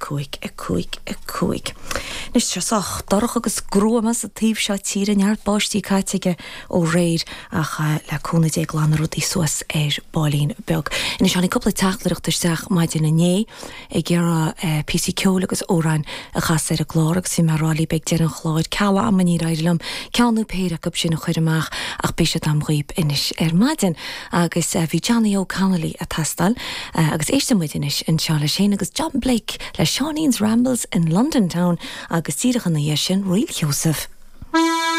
5 5 5. Anois tá sé sách dorcha agus gruama sa taobh seo tíre, neart báistí caite aige ó aréir ach le cúnamh Dé glanfaidh rudaí suas ar baillín beag. Anois tháinig cúpla teachtaireacht isteach maidin inné ag iarraidh píosaí ceoil agus amhráin a chasadh ar an gclár agus bhí mé ag rá libh ag deireadh an chláir ceal ama níor éirigh liom ceann nó péire acu sin a chur amach ach beidh siad a'm dhaoib anois ar maidin agus bhí Johnny Óg Connolly ag teastáil agus éistfidh muid anois anseo leis féin agus John Blake le Seáinín's Rambles in London Town agus díreach ina dhiaidh sin Ríl Sheosaimh.